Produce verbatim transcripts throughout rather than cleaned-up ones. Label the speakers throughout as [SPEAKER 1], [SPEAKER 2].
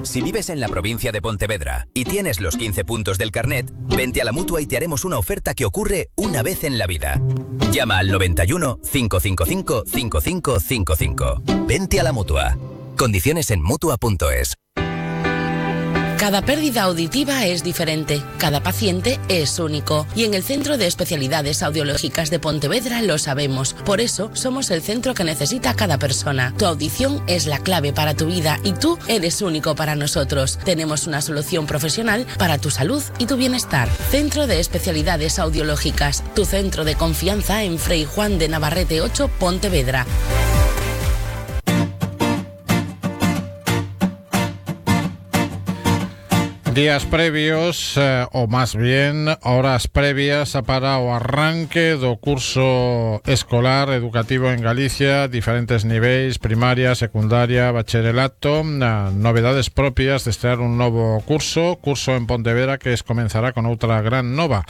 [SPEAKER 1] Si vives en la provincia de Pontevedra y tienes los quince puntos del carnet, vente a la Mutua y te haremos una oferta que ocurre una vez en la vida. Llama al noventa y uno, cinco cinco cinco, cinco cinco cinco cinco. Vente a la Mutua. Condiciones en mutua punto es.
[SPEAKER 2] Cada pérdida auditiva es diferente, cada paciente es único y en el Centro de Especialidades Audiológicas de Pontevedra lo sabemos. Por eso somos el centro que necesita cada persona. Tu audición es la clave para tu vida y tú eres único para nosotros. Tenemos una solución profesional para tu salud y tu bienestar. Centro de Especialidades Audiológicas, tu centro de confianza en Fray Juan de Navarrete ocho, Pontevedra.
[SPEAKER 3] Días previos, eh, o más bien horas previas para o arranque do curso escolar educativo en Galicia, diferentes niveis, primaria, secundaria, bacharelato, eh, novedades propias de estrear un novo curso, curso en Pontevedra que es comenzará con outra gran nova,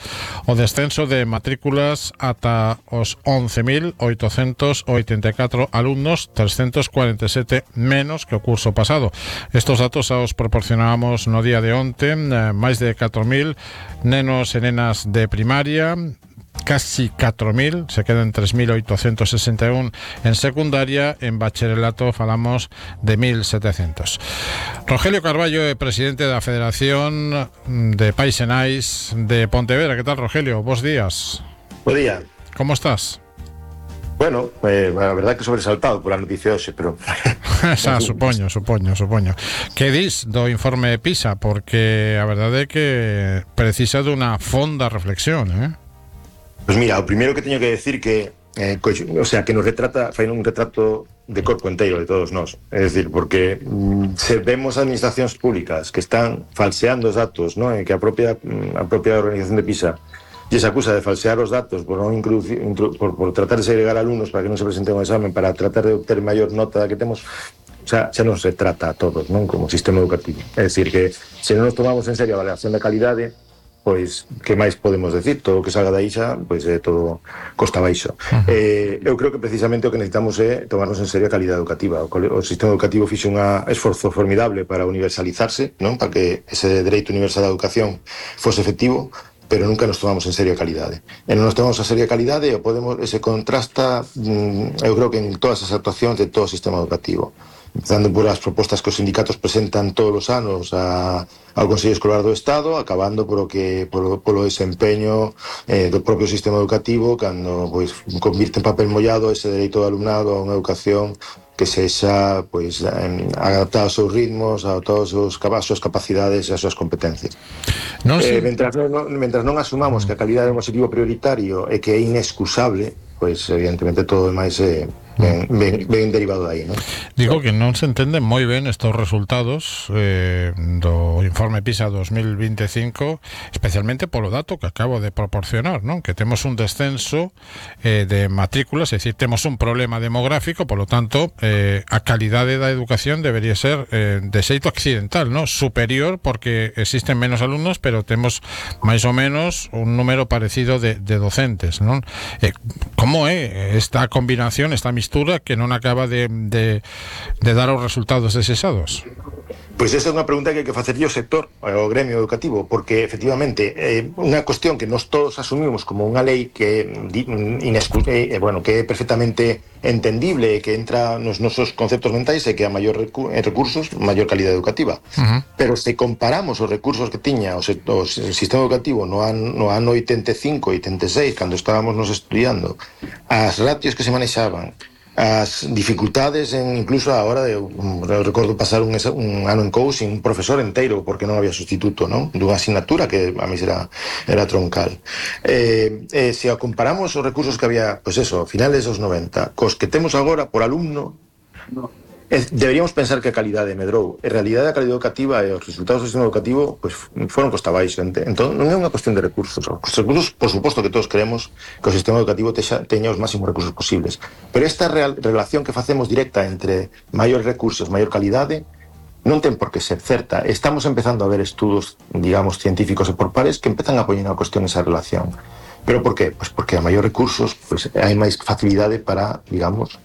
[SPEAKER 3] o descenso de matrículas ata os once mil oitocentos oitenta e catro alumnos, trescentos cuarenta e sete menos que o curso pasado. Estos datos os proporcionábamos no día de onte. Máis de catro mil nenos e nenas de primaria, casi catro mil, se quedan tres mil oitocentos sesenta e un en secundaria, en bacharelato falamos de mil setecientos. Rogelio Carballo é presidente da Federación de Pais e Nais de Pontevedra. Que tal, Rogelio? Bos días.
[SPEAKER 4] Bo día.
[SPEAKER 3] Como estás?
[SPEAKER 4] Bueno, eh, a verdad que sobresaltado pola noticia hoxe, pero...
[SPEAKER 3] Xa, supoño, supoño, supoño. Que dis do informe PISA? Porque a verdade é que precisa dunha fonda reflexión, eh?
[SPEAKER 4] Pois mira, o primeiro que teño que decir que eh, co, o sea, que nos retrata, fai un retrato de corpo inteiro de todos nós. É dicir, porque mm, se vemos administracións públicas que están falseando os datos, ¿no? E que a propia, a propia organización de PISA e se acusa de falsear os datos por, non introducir, intro, por, por tratar de segregar alumnos para que non se presenten ao examen, para tratar de obter maior nota da que temos, o sea, xa non se trata a todos, non, como sistema educativo. É dicir, que se non nos tomamos en serio a avaliación da calidade, pois, que máis podemos decir? Todo o que salga da ixa, pois é todo costa baixo. Uh-huh. Eh, eu creo que precisamente o que necesitamos é tomarnos en serio a calidade educativa. O, o sistema educativo fixe un esforzo formidable para universalizarse, non, para que ese dereito universal á educación fose efectivo, pero nunca nos tomamos en serio a calidade. E non nos tomamos en serio a calidade e podemos, ese contrasta, eu creo que en todas as actuacións de todo o sistema educativo. Empezando por as propostas que os sindicatos presentan todos os anos a, ao Consello Escolar do Estado, acabando por o que, por, polo desempeño eh, do propio sistema educativo, cando pois, convirte en papel mollado ese dereito do alumnado a unha educación que sexa pois, adaptada aos seus ritmos, adaptada aos seus, as súas capacidades e as súas competencias. Non eh, mentras, non, mentras non asumamos que a calidade é un objetivo prioritario e que é inexcusable, pois evidentemente todo demais é ben, ben, ben derivado de aí, non?
[SPEAKER 3] Digo que non se entenden moi ben estos resultados eh, do informe PISA dos mil veinticinco, especialmente polo dato que acabo de proporcionar, non? Que temos un descenso eh, de matrículas, é dicir, temos un problema demográfico, polo tanto, eh, a calidade da educación debería ser eh, de xeito accidental, non? Superior, porque existen menos alumnos, pero temos máis ou menos un número parecido de, de docentes, non? Eh, como é esta combinación, esta mistura que non acaba de, de, de dar os resultados deseados?
[SPEAKER 4] Pois esa é unha pregunta que hai que facerlle ao sector, ao gremio educativo, porque efectivamente é unha cuestión que nós todos asumimos como unha lei que é, bueno, que é perfectamente entendible e que entra nos nosos conceptos mentais e que a maior recu recursos, maior calidade educativa. Uh-huh. Pero se comparamos os recursos que tiña o, o sistema educativo no ano, no ano oitenta e cinco, oitenta e seis, cando estábamos nos estudiando, as ratios que se manexaban, as dificultades en, incluso a hora de, eu recordo pasar un, un ano en coaching, un profesor inteiro porque non había sustituto, non? Dunha asignatura que a mí era, era troncal. Eh, eh, se comparamos os recursos que había, pois pues eso, finales dos noventa, cos que temos agora por alumno, no. Deberíamos pensar que a calidade medrou. En realidade a calidade educativa e os resultados do sistema educativo pues, foron costa baixo. Entón non é unha cuestión de recursos. Os recursos, por suposto que todos queremos que o sistema educativo texa, teña os máximos recursos posibles. Pero esta real, relación que facemos directa entre maiores recursos, maior calidade, non ten por que ser certa. Estamos empezando a ver estudos, digamos, científicos e por pares que empezan a poñer a cuestión esa relación. Pero por qué? Pues porque a maior recursos pues, hai máis facilidade para, digamos,